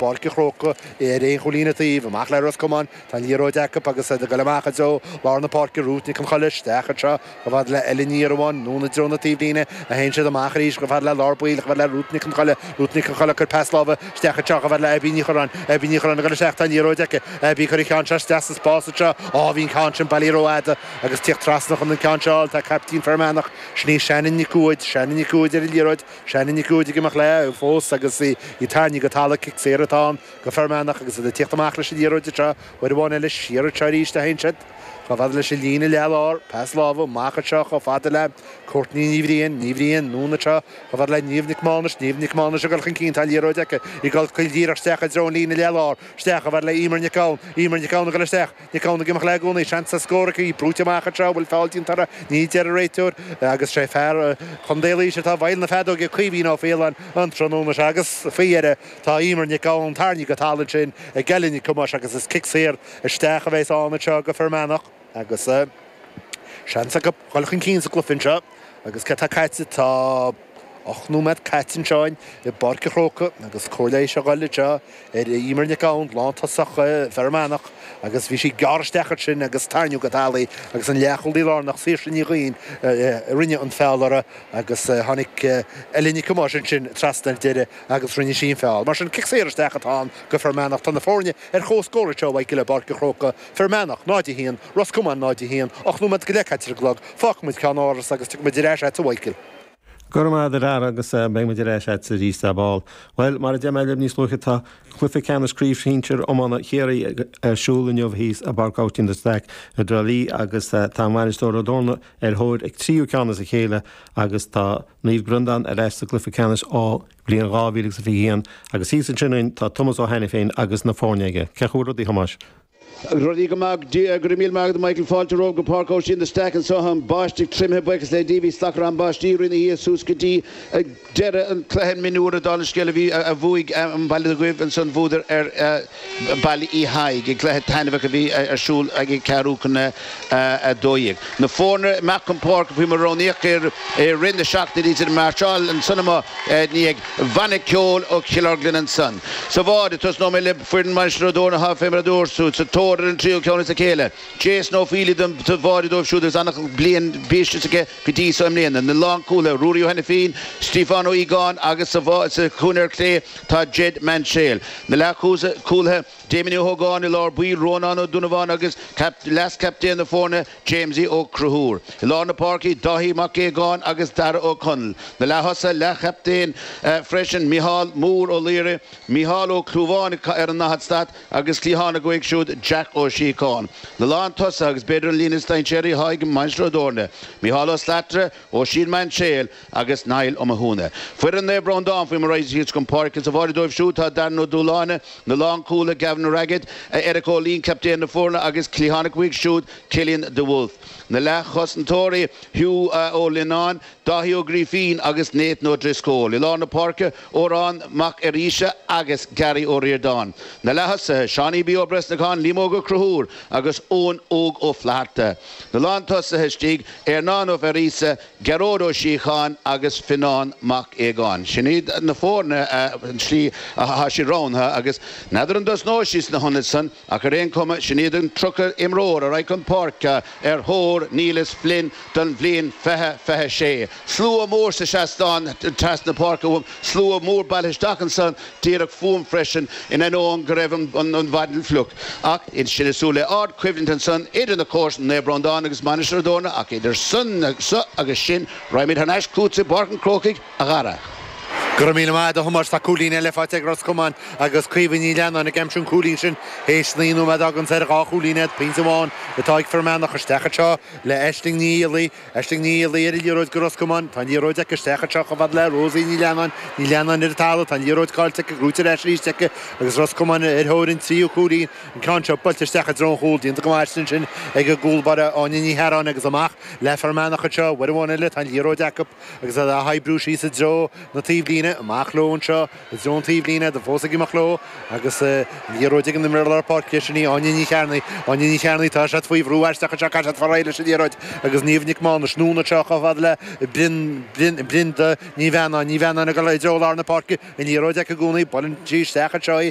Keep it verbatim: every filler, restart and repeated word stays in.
i bPáirc an Chrócaigh ar aon chúilín an taobh, amach le Ros Comáin, tá an liathróid acu agus iad ag dul amach i dtreo lár na páirce Ruth Nic an Choille isteach anseo chomh fada le Ellen Ní Iarmháin, anonn i dtreo na taobhlíne a théann siad amach arís chomh fada le lár baill chomh fada le Ruth Nic an Choille, Ruth Nic an Choille cuir pas láimhe isteach anseo chomh fada le Abby Ní Chorráin, Abby Ní Chorráin ag dul isteach tá an liathróid aici, Abby cuir an ceann seo isteach sa spás anseo, á bhí an ceann sin bailithe rófhada agus tíocht trasna chun an ceann seo tá caiptín Fear Manach sin í Shannon Nic Uaid, Shannon Nic Uaid ar an liathróid, Shannon Nic Uaid ag imeacht léi fós agus í tarraingthe go talamh cic saor atá ann go Fear Manach agus iad ag tíocht amach leis an liathróid anseo, uair amháin eile siar anseo arís a théann siad. Chomh fada leis an líne leathlár, pas láimhe amach anseo chomh fada le Courtney Ní Bhriain, Ní Bhriain anonn anseo chomh fada le Niamh Nic Mánais, Niamh Nic Mánais ag dul chun cinn tá liathróid aici ag dul cuil díreach isteach i dtreo an líne leathlár, isteach chomh fada le Emer Nic Gabhann, Emer Nic Gabhann ag dul isteach, Nic Gabhann ag imeacht léi i gcónaí, seans scór aici, brúite amach anseo bhfuil feall déanta ní deir an réiteoir agus sé fear Chontae Laoise atá i bhfeighil na feadóige Caoimhín Ó Faoláin an tráthnóna seo agus faoi dheireadh tá Emer Nic Gabhann tarraingthe go talamh ansin ag Ellen Nic Thomáis agus is cic saor isteach a bheas ann anseo go Fear Manach agus uh, seans acu dul chun cinn sa gcluiche anseo agus cé tá caite tá ocht nóiméad caite anseo i bPáirc an Chrócaigh agus cóir seo dul anseo ar Emer Nic Gabhann lántosach Fear Manach agus bhí sí gearr isteach sin agus tarraingíodh go talamh agus an leathchúlaí lárnach Saoirse Ní Ghaoin rinne an feall uirthi agus tháinig Ellen Nic Thomáis sin trasna ar deireadh agus rinne sí an feall. Mar sin cic saor isteach atá ann go Fear Manach tá na foirne ar chomhscór seo i bPáirc an Chrócaigh Fear Manach náid a haon, Ros Comáin náid a haon, ocht nóiméad go leith caite ar an gclog, fágfaimid ceannáras agus tiocfaimid ar ais a Mhichael. Gur ar ar agus beidh ar ais arís ar ball. Well mar a dúirt mé níos luaithe tá cluiche ceannais craobh shinsir iomána Chiarraí ar siúl inniu thíos i bPáirc Aibhistín de Staic i dTrá Lí agus tá Mainistir Ó dTorna ar thóir ag tríú ceann as a chéile agus tá Naomh Breandán ar ais sa gcluiche ceannais ó bhliain dhá mhíle agus fiche haon agus thíos ansin tá Tomás Ó Hainiféin agus na foirne aige. Cén chaoi rudaí Thomáis. Rudaí go maith go raibh míle maith Michael fáilte romhaibh go Páirc Aibhistín de Staic anseo an báisteach triomaithe buíochas le Dia bhí slacár an báistí rinne hí suas go dtí deireadh an chluiche mionúir dála an scéil a bhí a bhuaigh an Baile Dhuibh ansan bhuadar ar Baile Uí Thaidhg i gcluiche taitneamhach a bhí ar siúl ag ceathrú chun a dó dhéag. Na foirne amach chun páirce faoi mar roghnaíodh ar rith na seachtaine iad máirseáil ansan amuigh ní ag banna ceoil ó Chill Orglan ansan. Sa bhád tosnóidh mé le foireann Mainistir Ó dTorna ha fé mar a dúirt sa tóir ar an tríú ceann as a chéile. Jason Ó Faoilí don bhád dóibh siúd agus an bliain bíiste aige go dtí seo i mbliana. Na lánchúlaithe Ruairí Ó Heinifín, Stephen Ó Ígáin agus sa chúinne clé tá Jed Manséil. Na leathchúlaithe Damien Ó Hógáin i lár baill Rónán Ó Dúnabháin agus leas-chaptaen na foirne Jamesie Ó Cruthúr. I lár na páirce Dáithí Mac Aogáin agus Dara Ó Conaill. Na leath-thosaithe leath-chaptaen freisin Micheál Mór Ó Laoire, Micheál Ó Clúbháin ar an daichead stad agus cliathánach uaidh siúd Jack Ó Síocháin. Na lántosaithe agus b'fhéidir an líne is dainséaraí ag Mainistir Ó dTorna. Micheál Ó Slatara, Oisín Manséil agus Niall Ó Mathúna. Foireann Naomh Breandán faoi mar siad chun páirce sa bhád dóibh siúd tá Darren Ó Dúláine, na lánchúlaithe Gavin Raggett, Eric Ó Lín captaen na foirne agus cliathánach uaidh siúd Killian de Wolf. Na leathchosantóirí Hugh Ó Lináin, Dáithí Ó Grífín agus Nathan Ó Driscoll. I lár na páirce Órán Mac Aríse agus Gary Ó Riordáin. Na leath-thosaithe Seánie B Ó Bresnacán Liam Óg Ó Cruthúr agus Eoin Óg Ó Flatharta. Na lántosaithe istigh Ernán Ó Ferísa, Gearóid Ó Síocháin agus Fionnán Mac Aogáin. Sin iad na foirne slí atá sí roghnaithe agus n'fheadar an dtosnóidh sí sna hionaid san ach ar aon chuma sin iad an tríocha imreoir a raghaidh chun páirce ar thóir Neilus Flynn don bhliain fiche fiche sé. Slua mór sa seastán trasna páirce uaim, slua mór bailithe isteach ansan díreach fúm freisin in ainneoin go raibh an mhaidin fliuch. Ach in sin isú le ardchoimhlint ansan idir na comharsana Naomh Breandán agus Mainistir Ó dTorna ach idir san so agus sin raghaimid thar n-ais chugatsa i bPáirc an Chrócaigh a Dhara. Go raibh míle maith agat a Thomáis tá cúilín eile faighte ag Ros Comáin agus Caoimhe Ní Leannáin ag aimsiú an cúilín sin théis naoi nóiméad agus ar dhá chúilín iad pointe amháin atá ag Fear Manach isteach anseo le Aisling Ní Fhiallaigh Aisling Ní Fhiallaigh ar an liathróid go Ros Comáin tá an liathróid aici isteach anseo chomh fada le Rosie Ní Leannáin Ní Leannáin ar an talamh tá an liathróid caillte aici gnóthaithe ar ais arís aici agus Ros Comáin ar thóir an tríú cúilín an ceann seo buailte isteach i dtreo an chúil déanta go maith sin ag an gcúl báire Áine Ní Hearáin agus amach le Fear Manach anseo uair amháin eile tá an liathróid acu agus á hoibriú síos i dtreo na taobhlíne amach leo anseo i dtreo an taobhlíne do fós ag imeacht leo agus liathróid ag an imreoir lár páirce sin í Áine Ní Chearnaigh Áine Ní Chearnaigh tá siad faoi bhrú isteach anseo tá siad farail leis an liathróid agus Niamh Nic Mánais anonn anseo chomh fada le Brin Brin Brinda Ní Bheannáin Ní Bheannáin ag dul i dtreo lár na páirce an liathróid aici i gcónaí buaileann sí isteach anseo í